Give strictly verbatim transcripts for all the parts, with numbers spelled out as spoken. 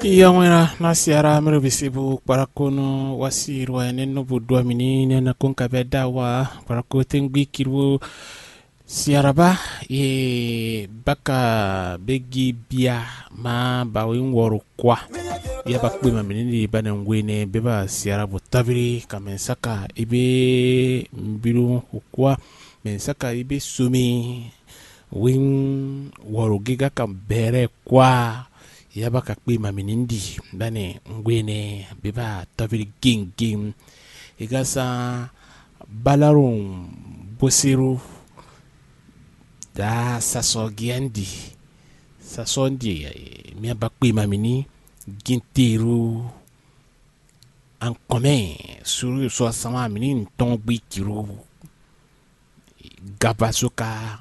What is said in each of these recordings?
Iyɔmwɛra na siara mɛɖo bisibu kparakonu wasi ruwa ne nubu dua mini ne na kun kabɛ da wa kparako tengbi kiru siaraba ye baka begi bia ma bawi wɔru kwa. Ya ba kpe ma mini di ba ne ngwe ne beba siara bo tabiri ka mɛ saka ibe mbiru kwa mɛ saka ibe sumi win wɔru gega ka bɛrɛ kwa. Ya ba ka kpe ma mini di ba ne ngwe ne beba tabiri gengeng. Iga sa balarun boseru da sasɔ giandi sasɔ ndi mia ba kpe ma mini ginteru ankɔmɛ suru sɔ sama mini ntɔn gbi kiru gabasoka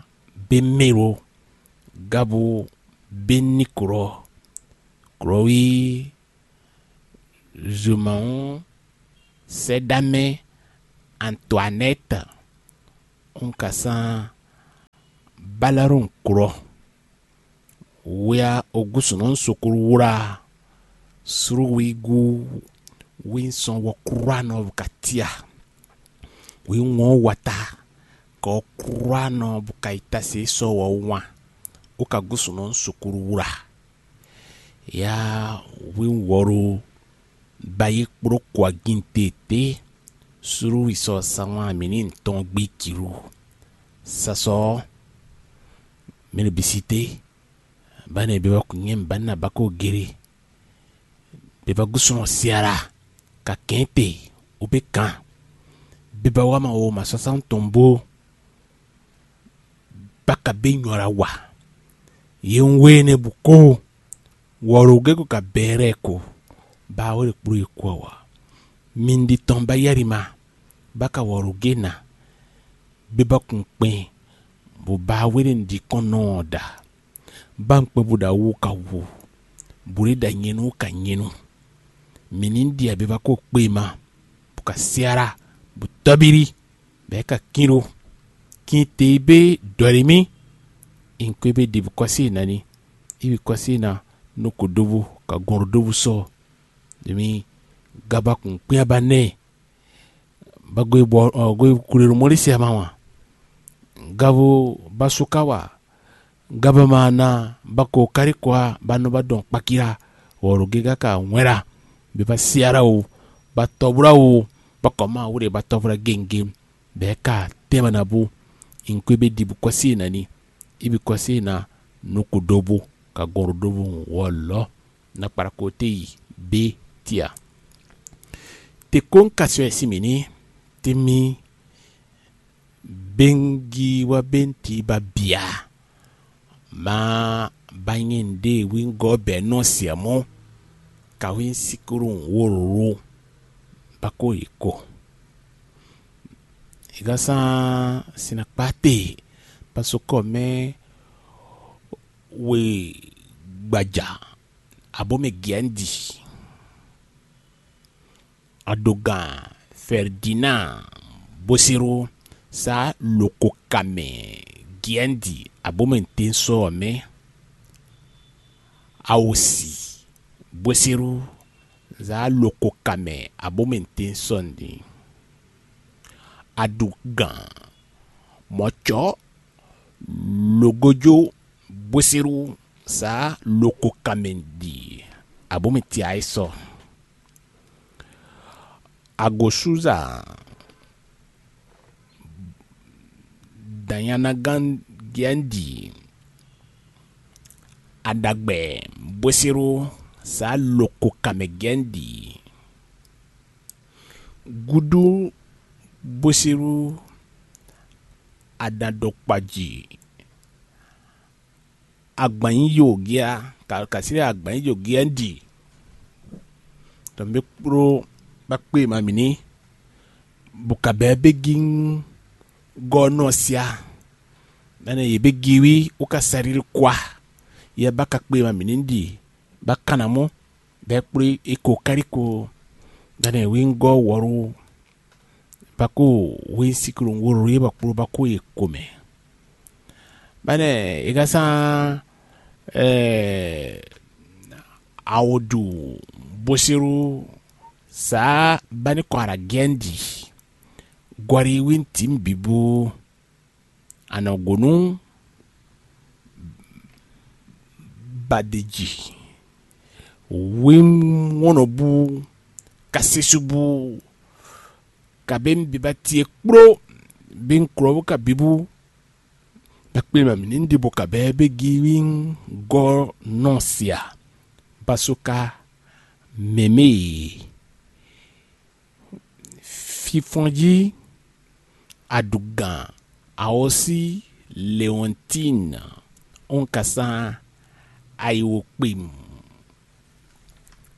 be mero gabo be nikurɔ kurɔwi zumawun sɛdame antoinette un ka san balarun kurɔ wia ogusunɔ sukuru wla suru wigu winsɔn wɔ kura nɔ ka tia wi ŋɔ wata kɔ kura nɔ bu ka yi tasi sɔ wɔ wan o ka gusunɔ sukuru wla ya wi wɔro ba yi kpló kɔ aginte te suru wi sɔ sawan mini ntɔn gbi kiru sasɔ mini bisite ba ne be wa kunyɛ ba na ba ko gere be va gúsúnɔ siara ka kɛn te wo be kan be ba wa ma wo ma sɔsán tɔn bó ba ka be nyɔ la wa ye ń wé ne bu kó wɔlɔgɛ́ ko ka bɛɛ lɛ́ɛ ko ba wé ɖo kpló ye kú ɔ wa mi ɖi tɔn ba yɛ́ ɖi ma ba ka wɔlɔgɛ́ na be ba kun kpɛn bó ba wé ɖe ɖi kɔn nɔ ɔ ɖa ba un kpɛn bó ɖo awu ka wu bó ɖe ɖo anyɛnu ka nyɛnu mǐ ní ɖi abǐ ba kó kpé ma bó ka syá ɖa bó tɔ́bírí bɔ é ka kín ɖó kín te yi bé dɔ̌ ɖi mì. Inkwé bé ɖi bó kɔ́ sí e nǎ ní yi bǐ kɔ́ sí e ná nú kǒdóbú ka gɔn ɖo dóbú sɔ́ ɖi mì gaba kun kpín aba nɛ́ ba gwe bɔ gwe kule ɖo mɔɖi se ama wan gabo ba su ka wa gaba ma na ba ko kari kwa ba nɔ ba dɔn kpakira wɔlo ge kaka wɛn ɖa be ba siara wo ba tɔbula wo ba kɔ ma wo ɖe ba tɔbula gengem bɛ ka tɛma na bu inkwe be dibu kɔsi na ni ibi kɔsi na nuku dobo ka gɔn ɖo dobo wɔlɔ na kpara ko te yi be tia te ko n kasi wɛ si mi ni te mi bengi wá bɛ́nti ba bia ma ba nyɛ ɖe wingɔ bɛ nɔ siamɔ ka win sikuru wòlò ba ko yi ko ìgbà sàn sinakpate pasokɔ mɛ we gbaja abo mɛ giandi adogan ferdinand bosero sa lokokamɛ giandi abomɛntensɔ mɛ awosi bosero za lokokamɛ abomɛntensɔ ni adogan mɔtsɔ logojo bosero sa lokokamɛ di abomɛntia sɔ Agosuza, Danyanagan Gɛndi, Adagbɛ Bwesero sa loko kamɛ Gɛndi, Gudu Bwesero, Adadokpaji, agbanyijo gea kasiri agbanyijo gea ɖi tɔn bí kpló bá kpé ma mǐ ní bó ka bɛ́ bé gí gɔ́ nɔ sia nane yě bé gí wí wó ka saɖíɖí kwa yɛ bá ka kpé ma mǐ ní ɖi bá kan ná mɔ bɛ́ kplé é ko káɖí ko nane wí gɔ́ wɔ̌lú bako win siklo woro ye ba kplo bako ye kome. Bane e ka san eh, Awodu bosiru sa bani kɔara gɛndi gɔri win tim bibu anɔgonu badeji win wɔnɔbu kasisubu kabe biba tie kplo bin klɔbu kabibu bakpilima mi ní ɖibo kabɛ bé gi win gɔ nɔ sia basoka mɛmɛ fifɔn jí aɖugan awɔsí leontine onkasán ayiwokpim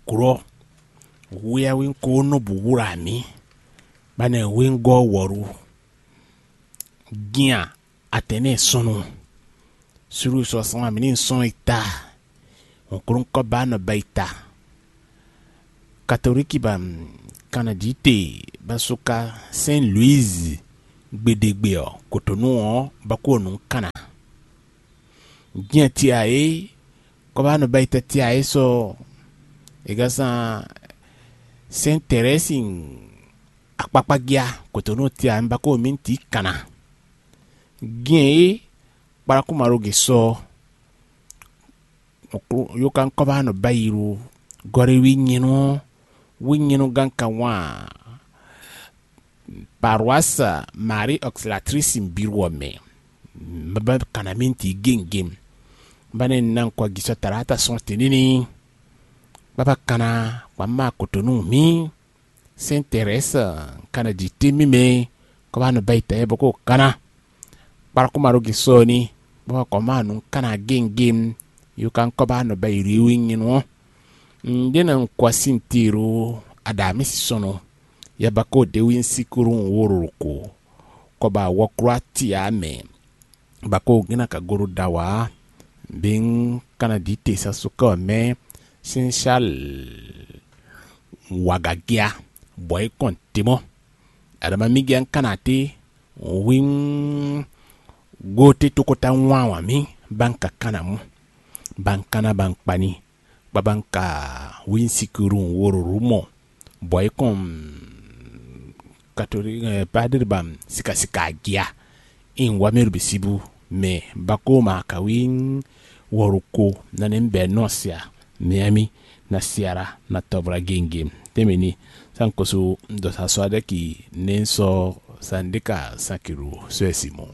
glɔ́ hweyáwín ko nɔ bǔ wlá mǐ banɛ wíngɔ́ wɔ̌lu gían atɛnɛ́ sɔnnu sulu sɔ sɔn amǐ ní sɔn yi ta hɔnklɔ́nkɔ́ba nɔ ba yi ta katolíki ba kanadíte ba suka sɛn luizi gbeɖegbe ɔ́ kotonu ɔ́ bako nǔ kana. Jɛn tia é kɔba nɔ ba yi ta tia é sɔ é gán san sɛn tɛrɛsi akpakpa gíá kotonu tia é bako mi ti kana. Gɛn é kpalakumaɖoge sɔ yókankɔ́ba nɔ ba yi ɖo gɔɖéwí nyɛnu ɔ́ wí nyɛnu gán kan wán paroisse Marie Auxiliatrice Mbiru ɔ́ mɛ baba kana mi ti géngém bane nan kɔ gisɔ talata sɔn tɛnini baba kana kpama kotonu mi Saint Thérèse kana di te mi mɛ kɔ ba nɔ ba yi tɛ bɔ ko kana kpalakuma ɖo gisɔ ni bɔ kɔ ma nu kana géngém yo kan kɔ ba nɔ ba yi riwi nyinu ɔ́ un ɖe na un kɔ asin tiro aɖa mi si sɔnɔ ya ba ko de wi sikuru un wo ɖo ko kɔ ba wɔ klo ati ya mɛ ba ko gina ka goro da wa be un kana di te sa sukɔ mɛ sin sal wagagia bɔ é kɔn te mɔ adama mi gɛ un kana te wim go te tokota wan wa mi ba un ka kana mu ba un kana ba un kpani baba un ka win sikuru un wo ɖo mɔ bɔ é kɔn katolík padre ba sikasika agia in wa mi ɖo bisibu mɛ bako ma ka win wɔruko nane bɛ nɔ sia miami na siara na tɔvla gengem temi ni sankoso dɔ sa sɔ adeki ne sɔ sandika sankiru sɔ esi mo